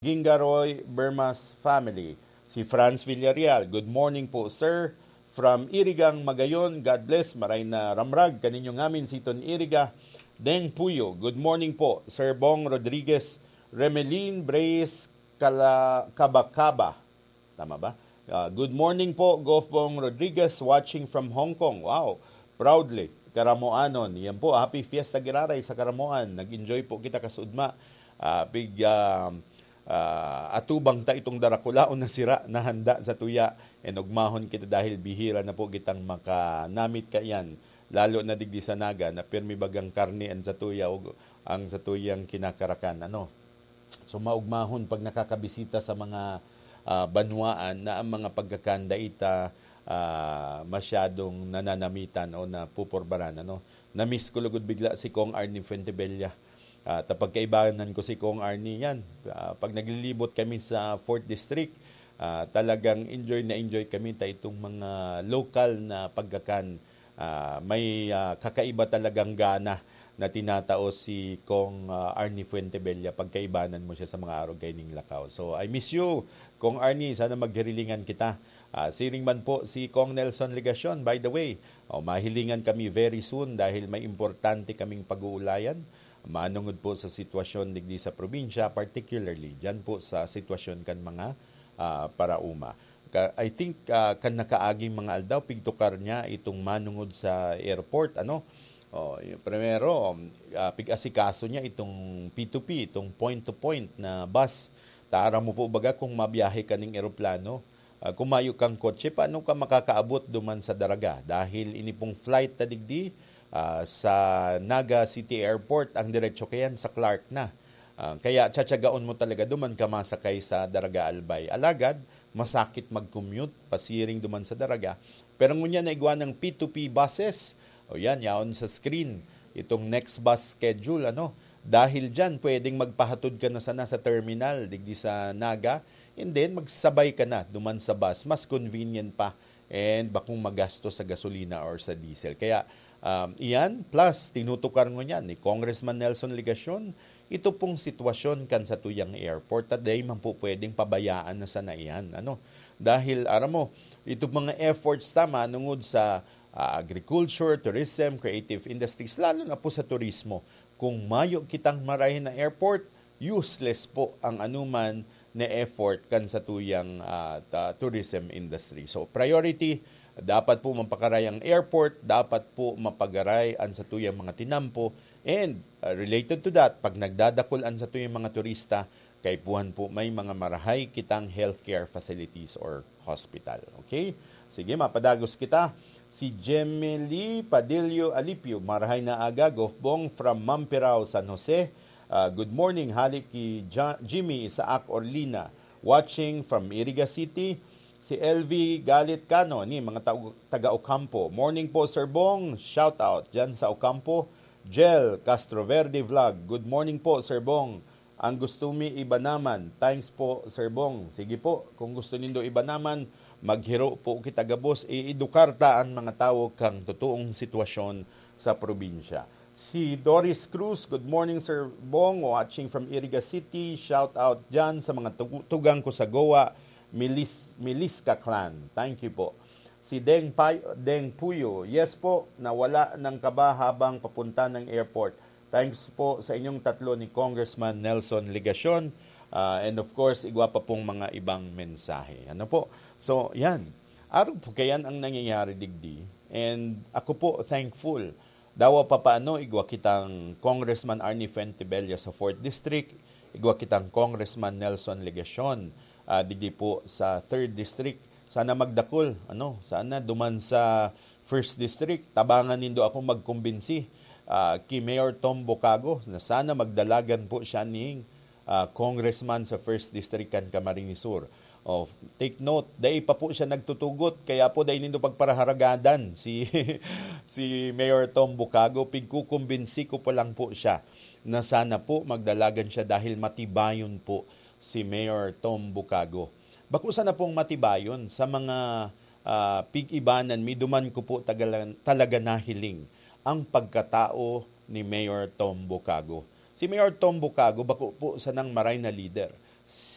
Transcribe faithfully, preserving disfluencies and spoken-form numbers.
Gingaroy Bermas family. Si Franz Villarreal, "Good morning po, sir. From Irigang, Magayon, God bless. Maray na ramrag kaninyo ngamin si Ton Iriga." Deng Puyo, "Good morning po, Sir Bong Rodriguez." Remelin Brace Kala-, Kabakaba. Tama ba? Ah, "Good morning po, Gof Bong Rodriguez, watching from Hong Kong." Wow! Proudly, Karamoanon. Yan po, happy Fiesta Giraray sa Karamoan. Nag-enjoy po kita kasudma. Ah, big, ah, ah, atubang ta itong darakulaon na sira na handa sa tuya. And ugmahon kita dahil bihira na po kitang makanamit kaiyan. Lalo na digdi sa Naga na pirmi bagang karne ang sa tuya o ang sa tuyang kinakarakan. Ano? So, maugmahon pag nakakabisita sa mga, ah, banwaan na ang mga pagkakan dai ta, ah, masyadong nananamitan o napupurbaran, ano. Na-miss ko lugod bigla si Kong Arnie Fuentebella. Ah, ta pagkaibanan ko si Kong Arnie yan. Ah, pag naglilibot kami sa Fourth District, ah, talagang enjoy na enjoy kami ta itong mga lokal na pagkakan. Ah, may, ah, kakaiba talagang gana na tinatao si Kong, ah, Arnie Fuentebella. Pagkaibanan mo siya sa mga arog kaining lakaw. So, I miss you, Kong Arnie. Sana maghirilingan kita. Ah, siring man po si Kong Nelson Legacion, by the way. Oh, mahilingan kami very soon dahil may importante kaming pag-uulayan manungod po sa sitwasyon digdi sa probinsya, particularly dyan po sa sitwasyon kan mga, ah, paraoma. Ka-, I think, ah, kan nakaaging mga aldaw, pigtukar niya itong manungod sa airport, ano? Oh, y-, primero, um, ah, pig-asikaso niya itong P two P, itong point-to-point na bus. Taram mo po baga kung mabiyahe ka ning eroplano, ah, kung mayo kang kotse, paano ka makakaabot duman sa Daraga? Dahil ini pong flight na digdi, ah, sa Naga City Airport, ang diretso kayan sa Clark na. Ah, kaya tsatsagaon mo talaga duman ka masakay sa Daraga Albay. Alagad, masakit mag-commute pasiring duman sa Daraga. Pero ngunyan na igwa ng P two P buses, o yan, yaon sa screen, itong next bus schedule, ano. Dahil dyan, pwedeng magpahatod ka na sana sa terminal, digdi sa Naga, and then magsabay ka na duman sa bus. Mas convenient pa. And bakong magasto sa gasolina or sa diesel. Kaya, um, iyan, plus, tinutukar ngunyan ni Congressman Nelson Legacion, ito pong sitwasyon kan satuyang airport, at dai man po pwedeng pabayaan na sana iyan, ano? Dahil, aram mo, itong mga efforts ta manungod sa, ah, agriculture, tourism, creative industries, lalo na po sa turismo. Kung mayo kitang marahay na airport, useless po ang anuman na effort kan satuyang, ah, ta-, tourism industry. So, priority, dapat po mapakaray ang airport, dapat po mapagaray ang satuyang mga tinampo, and, ah, related to that, pag nagdadakul ang satuyang mga turista, kaipuhan po may mga marahay kitang healthcare facilities or hospital. Okay? Sige, mapadagos kita. Si Gemily Padillo Alipio, "Marahay na aga, Gof Bong from Mampirao, San Jose. Ah, good morning, hali ki Ja-, Jimmy Isaac Orlina, watching from Iriga City." Si L V Galit Cano, ni mga tao-, taga Ocampo. "Morning po, Sir Bong. Shout out dyan sa Ocampo." Jel Castroverde Vlog, "Good morning po, Sir Bong. Ang gusto mi iba naman." Thanks po, Sir Bong. Sige po, kung gusto nindo iba naman, maghiro po kita gabos. Iedukar ta an mga tawo kan totoong sitwasyon sa probinsya. Si Doris Cruz, "Good morning, Sir Bong. Watching from Iriga City. Shout out dyan sa mga tugu-, tugang ko sa Goa, Milis-, Miliska Clan." Thank you po. Si Deng Pay-, Deng Puyo, "Yes po, nawala ng kaba habang papunta ng airport." Thanks po sa inyong tatlo ni Congressman Nelson Legacion. Ah, and of course, igwa pa pong mga ibang mensahe. Ano po? So, yan. Arog po kayan ang nangyayari digdi. And ako po, thankful. Dawa pa paano, igwa kitang Congressman Arnie Fuentebella sa Fourth District, igwa kitang Congressman Nelson Legacion, ah, digdi po sa Third District. Sana magdakul, ano, sana duman sa First District, tabangan nindo ako magkumbinsi, ah, ki Mayor Tom Bucago na sana magdalagan po siya ning, ah, congressman sa First District kan Camarines Sur. Oh, take note, dai pa po siya nagtutugot, kaya po dai nindo pagparaharagadan si, si Mayor Tom Bucago. Pigkukumbinsi ko pa lang po siya na sana po magdalagan siya dahil matibayon po si Mayor Tom Bucago. Bako sana pong matibayon sa mga, ah, pig-ibanan mi, duman ko po tagala-, talaga nahiling ang pagkatao ni Mayor Tom Bucago. Si Mayor Tom Bucago, bako po sanang maray na lider.